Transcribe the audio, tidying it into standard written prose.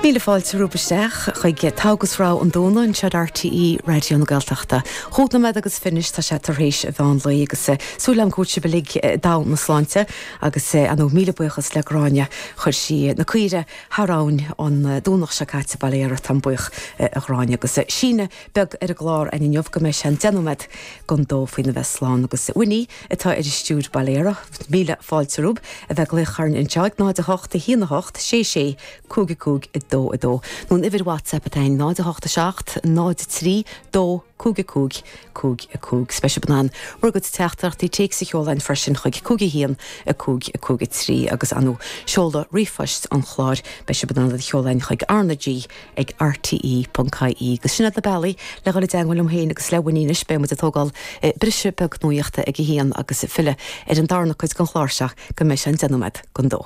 Míle fáilte romhaibh isteach chuig Togha agus Rogha an Domhnaigh anseo ar RTÉ Raidió na Gaeltachta. Chúig nóiméad agus fiche anois tá sé tar éis an mheán lae agus súil agam go bhfuil sibh uilig i dtogha na sláinte agus ar ndóigh míle buíochas le Gráinne chuir sí na caoire thar abhainn an Domhnach seo caite bail ó Dhia ort táim buíoch a Ghráinne agus síneadh beag ar an gclár againn inniu go mbeidh sé an 10 nóiméad don dó faoina bheith slán agus Winnie atá ar an stiúir bail ó Dhia uirthi. Míle fáilte romhaibh a bheith ag glaoch orainn anseo ag 0 8 1 8 6 6 5 5 2 2 nó an uimhir WhatsApp atá againn 0 8 7 0 3 2 5 5 5 5. Is beidh sibh in ann bhur gcuid teachtaireachtaí téacs a sheoladh chugainn freisin chuig 5 1 5 5 3 agus ar ndóigh seoladh ríomhphoist an chláir beidh sibh in ann iad a sheoladh chugainn chuig RnaG ag rte.ie agus sin iad na bealaí le dhul i dteangmháil liom féin agus le Winnie anois. Beidh muid ag tógáil briseadh beag nuaíochta ag a haon agus ag filleadh ar an darna cuid den chlár seo go mbeidh sé an 10 nóiméad don dó.